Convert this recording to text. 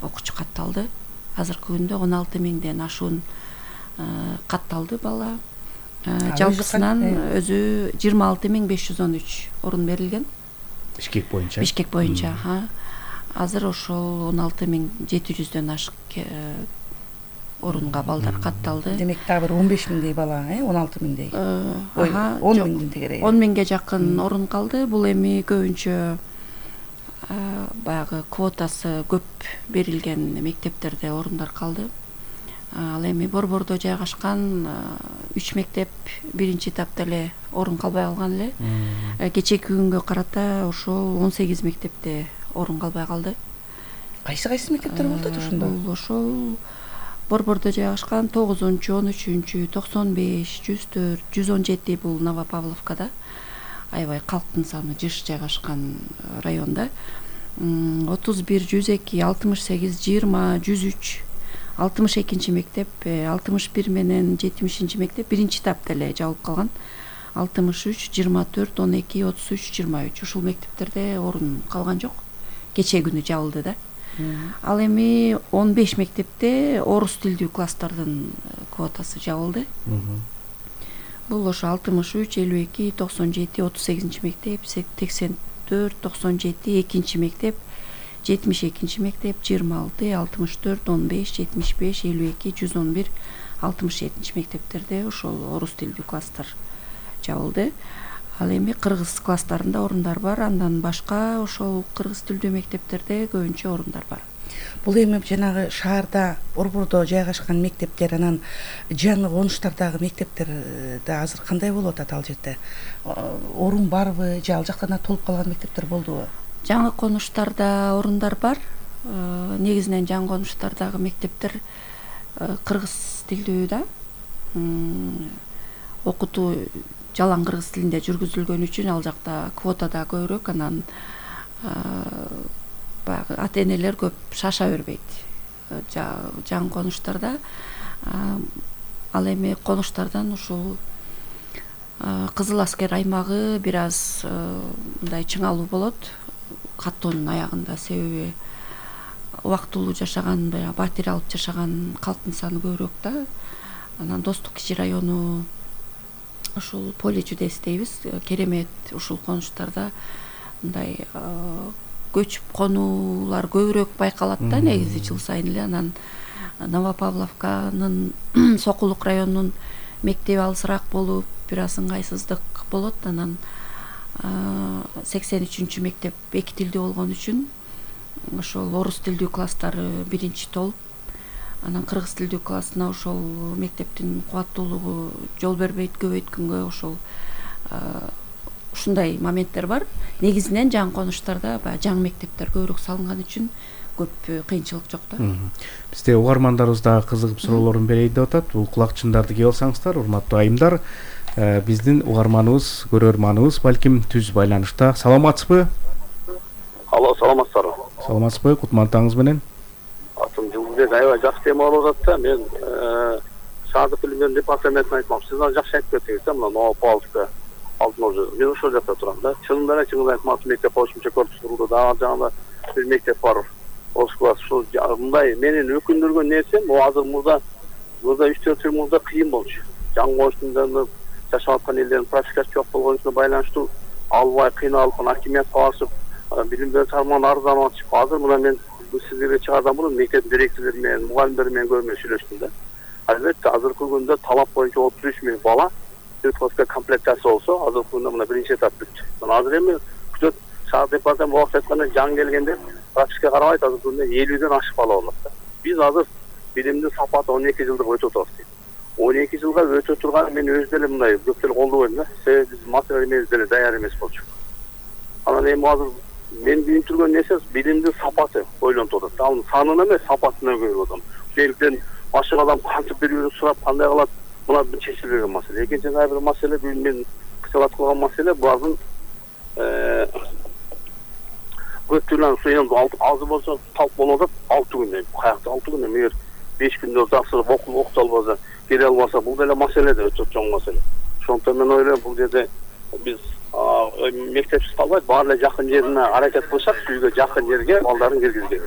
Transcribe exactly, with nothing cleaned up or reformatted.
окуучу катталды. Азыркы күндө он алты миңден ашуун катталды бала. Жалпысынан өзү жыйырма алты миң беш жүз он үч орун берилген. Бишкек боюнча. Бишкек боюнча. Азыр ошол он алты миң жети жүздөн ашык орунга балдар катталды. Демек дагы бир он беш миңдей бала, э, он алты миңдей. он миңдин тегереги. он миңге жакын орун калды. Бул эми көбүнчө баягы квотасы көп берилген мектептерде орундар калды. Ал эми Борбордо жайгашкан үч мектеп биринчи этапта эле орун калбай калган эле. Кечээки күнгө карата ошол он сегиз мектепте орун калбай калды. Кайсы кайсы мектептер болду ошондо? Бул ошол Борбордо жайгашкан тогузунчу, он үчүнчү, токсон беш, жүз төрт, жүз он жети бул Новопавловкада. Аябай калктын саны жыш жайгашкан районда. отуз бир, жүз эки, алтымыш сегиз, жыйырма, жүз үч, алтымыш экинчи мектеп, алтымыш бир менен жетимишинчи мектеп биринчи этапта эле жабылып калган. алтымыш үч, жыйырма төрт, он эки, отуз үч, жыйырма үч ушул мектептерде орун калган жок. Кечээ күнү жабылды да. Ал эми он беш мектепте орус тилдүү класстардын квотасы жабылды. Бул ошо алтымыш үч, элүү эки, токсон жети, отуз сегизинчи мектеп, сексен төрт, токсон жети, экинчи мектеп, жетимиш экинчи мектеп, жыйырма алты, алтымыш төрт, он беш, жетимиш беш, элүү эки, жүз он бир, алтымыш жетинчи мектептерде ошол орус тилдүү класстар жабылды. Ал эми кыргыз класстарында орундар бар, андан башка ошол кыргыз тилдүү мектептерде көбүнчө орундар бар. Бул эми жанагы шаарда Борбордо жайгашкан мектептер, анан жаңы конуштардагы мектептерде азыр кандай болуп атат ал жерде? Орун барбы, же ал жактан толуп калган мектептер болдубу? Жаңы конуштарда орундар бар. Негизинен жаңы конуштардагы мектептер кыргыз тилдүү да. Окутуу жалаң кыргыз тилинде жүргүзүлгөн үчүн ал жакта квота да көбүрөөк, анан баягы ата-энелер көп шаша бербейт. Жаңы конуштарда ал эми конуштардан ушул Кызыл аскер аймагы бир аз мындай чыңалуу болот каттоонун аягында, себеби убактылуу жашаган, баягы батир алып жашаган калктын саны көбүрөөк да. Анан Достук кичи району, ушул Поле чудес дейбиз, керемет ушул конуштарда мындай көчүп конуулар көбүрөөк байкалат да негизи жыл сайын эле. Анан Новопавловканын Сокулук районунун мектеби алысыраак болуп, бир аз ыңгайсыздык болот. Анан сексен үчүнчү мектеп эки тилдүү болгон үчүн ошол орус тилдүү класстары биринчи толуп, анан кыргыз тилдүү классына ошол мектептин кубаттуулугу жол бербейт, көбөйткөнгө ошол ушундай моменттер бар. Негизинен жаңы конуштарда баягы жаңы мектептер көбүрөөк салынган үчүн көп кыйынчылык жок да. Бизде угармандарыбыз дагы кызыгып суроолорун берейин деп атат. Бул кулакчындарды кие алсаңыздар, урматтуу айымдар. Биздин угарманыбыз, көрөрманыбыз балким түз байланышта. Саламатсызбы? Алло, саламатсыздарбы? Саламатсызбы? Кутмандыгыңыз менен? Атым Жылдыбек, аябай жакшы тема болуп атат да. Мен шаардык билим департаментине айтмакчы. Сиз аны жакшы айтып кеттиңиз да, мына Новопавловка алтын орду. Мен ошол жакта турам да. Чынында эле чынында айтмакчы, мектеп кошумча корпус курулду. Дагы жаңы бир мектеп бар. Орус класс. Ушул мындай менин өкүндүргөн нерсем, бул азыр мурда мурда үч төрт жыл мурда кыйын болчу. Жаңы коштунда жашап аткан элдердин практикасы жок болгонуна байланыштуу албай кыйналып, акимиятка барышып, билим берүү тармагынан арызданып атышып. Азыр мына мен сиздерге чыгардан мурун мектеп директорлори менен, мугалимдер менен көрмө сүйлөштүм да. Албетте азыркы күндө талап боюнча отуз үч миң бала класска комплектация болсо, азыркы күндө мына биринчи этап бүттү. Мына азыр эми күтөт шаар департаменти убакыт айтканда жаңы келгенде практикага карабайт, азыркы күндө элүүдөн ашык бала болот да. Биз азыр билимдин сапаты он эки жылдык өтүп атабыз дейт. он эки жылга өтө турган мен өз деле мындай көп деле колдобойм да. Себеби биз материал эмес деле даяр эмес болчу. Анан эми азыр мен билиндиргөн нерсе билимдин сапаты ойлонуп атат. Ал санына эмес, сапатына көрүп атам. Ошондуктан башка адам кантип бир-бирин сурап кандай кылат, мына чечилбеген маселе. Экинчи бир маселе, бул мен кыталат кылган маселе, булардын көптүрүн суен азыр болсо талп болуп атат. алты күндө, каякта алты күндө, эгер беш күндө жакшырып окуп окута албаса, келе албаса, бул деле маселе да, өтө чоң маселе. Ошондуктан мен ойлойм, бул жерде биз мектепсиз калбайт, баары эле жакын жерине аракет кылышат, үйгө жакын жерге балдарын киргизген.